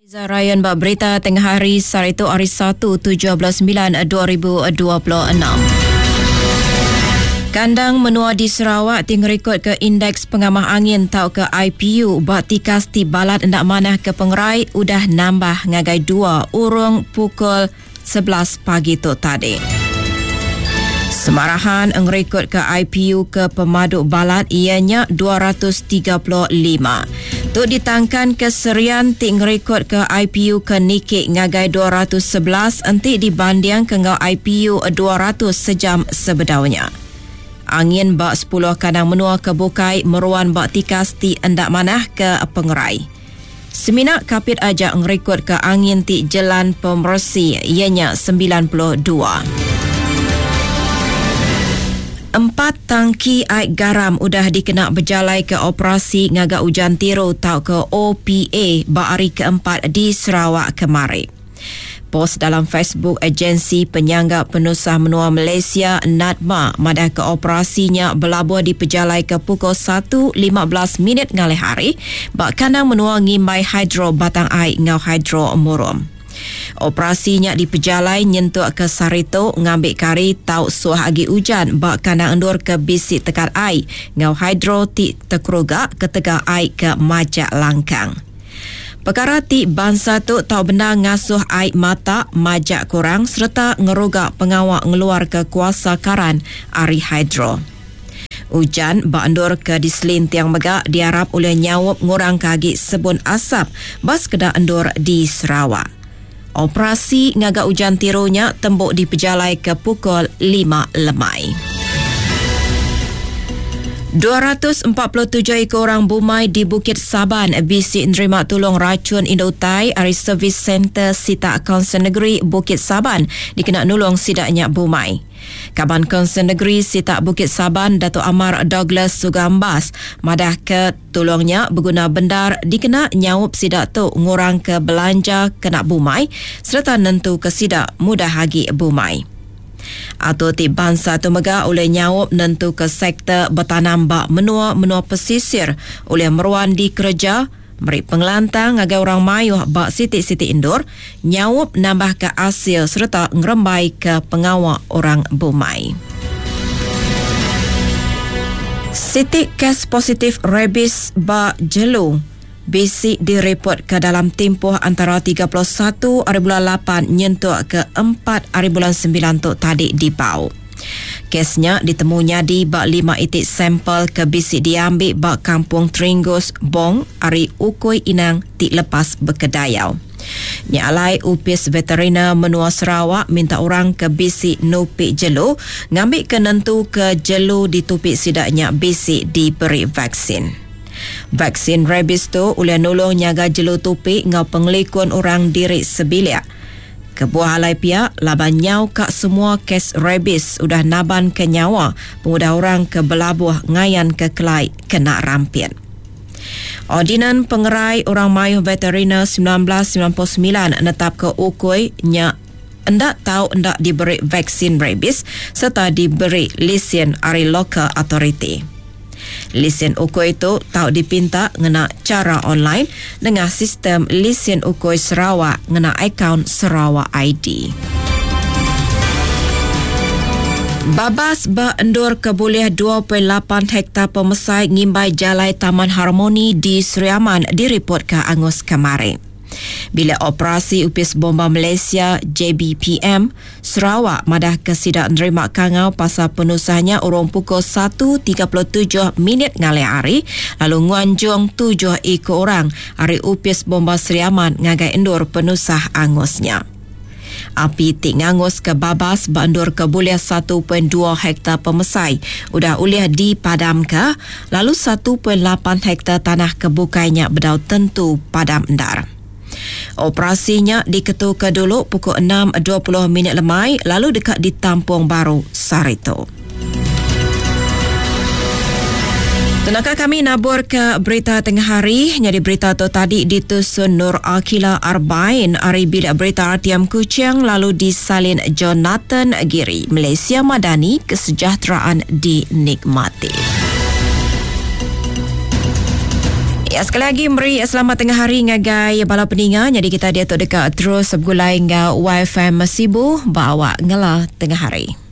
Ryan ba berita tengah hari sehari tu hari 1 17 9 2026. Kandang menua di Sarawak ti ngerikod ke Indeks Pengamah Angin tauka IPU ba tikas ti balat enda manah ke pengerai udah nambah ngagai dua urung pukul 11 pagi tu tadi. Semarahan ngerikod ke IPU ke pemadu balat iya nya 235. Tu ditangkan ke Serian ti ngerikod ke IPU ke niki ngagai 211 enti dibanding ke enggau IPU 200 sejam sebedau nya. Angin ba 10 kandang menua ke bukai meruan ba tikas ti enda manah ke pengerai. Semina Kapit aja ngerikodka angin ti jelan pemeresi iya nya 92. Empat tangki ai garam udah dikena bejalaika operasi ngaga ujan tiru tauka OPA ba hari keempat di Sarawak kemari. Pos dalam Facebook Agensi Penyangga Penusah Menua Malaysia, NADMA, madahka operasi nya belabuh dipejalaika pukul satu 15 minit ngalih hari ba kandang menua ngimbai Hidro Batang Ai enggau Hidro Murum. Operasi nya dipejalai nyentuk ke sehari tu ngambika hari tau suah agi ujan ba kandang endur ke bisi tekat ai enggau hidro ti tekeruga ketegal ai ke majak langkang. Pekara ti bansa tu tau bendar ngasuh ai mata majak kurang sereta ngeruga pengawa ngeluarka kuasa karan ari hidro. Ujan ba endur ke diselinting mega diarap ulih nyaup ngurangka agi sebun asap ba sekeda endur di Sarawak. Operasi ngaga ujan tiru nya tembu dipejalaika pukul 5 lemai. 247 iku orang bumai di Bukit Saban bisi nerima tulung rachun indu utai ari Servis Center Sitak Kaunsil Negeri Bukit Saban dikena nulung sida nya bumai. Kaban Kaunsil Negeri Sitak Bukit Saban Datuk Amar Douglas Sugambas madahka tulung nya beguna bendar dikena nyaup sida tu ngurangka belanja kena bumai sereta nentuka sida mudah agi bumai. Atur ti bansa tu mega ulih nyaup nentuka sektor betanam ba menua-menua pesisir ulih meruan dikereja, meri pengelantang ngagai orang mayuh ba siti-siti endur, nyaup nambahka asil sereta ngerembaika pengawa orang bumai. Siti kes positif rabies ba jelu. Bisi direpotka dalam timpuh antara 31 ari bulan lapan nyentuk ke empat ari bulan sembilan tu tadi di Bau. Kes nya ditemu nyadi ba lima iti sampel ke bisi diambi ba Kampung Tringgus, Bong ari Ukui Inang ti lepas bekedayau. Nya alai Opis Veteriner Menua Sarawak minta orang ke bisi nupi jelu ngambika nentuka jelu ditupi sida nya bisi diberi vaksin. Vaksin rabies tu ulih nulung nyaga jelu tupi enggau pengelikun orang diri sebilik. Kebuah alai pia laban nyau ka semua kes rabies udah nabanka nyawa pengudah orang ke belabuh ngayanka kelai kena rampit. Ordinan Pengerai Orang Mayuh Veteriner 1999 netapka ukui nya enda tau enda diberi vaksin rabies sereta diberi lisin ari local authority. Lisin ukui tu tau dipinta ngena chara online nengah sistem Lisin Ukui Sarawak ngena akaun Sarawak ID. Babas ba endur ke bulih 2.8 hektar pemesai ngimbai Jalai Taman Harmoni di Sri Aman diripotka angus kemari. Bilik Operasi Opis Bomba Malaysia, JBPM, Sarawak madahka sida nerima kangau pasal penusah nya urung pukul 1.37 minit ngalih hari lalu nguanjung tujuh iku orang ari Opis Bomba Sri Aman ngagai endur penusah angus nya. Api ti nganguska babas ba endur ke bulih 1.2 hektar pemesai udah ulih dipadamka lalu 1.8 hektar tanah ke bukai nya bedau tentu padam endar. Operasi nya diketuka dulu pukul 6.20 minit lemai lalu deka ditampung baru sehari tu. Tenaka kami nabur ke berita tengah hari. Nyadi berita tu tadi ditusun Nur Akila Arbain ari Bilik Berita RTM Kuching lalu disalin Jonathan Giri. Malaysia Madani, kesejahteraan dinikmati. Sekali agi meri selamat tengah hari ngagai bala peninga. Nyadi kita diatu deka terus begulai enggau YFM Sibu ba awak ngela tengah hari.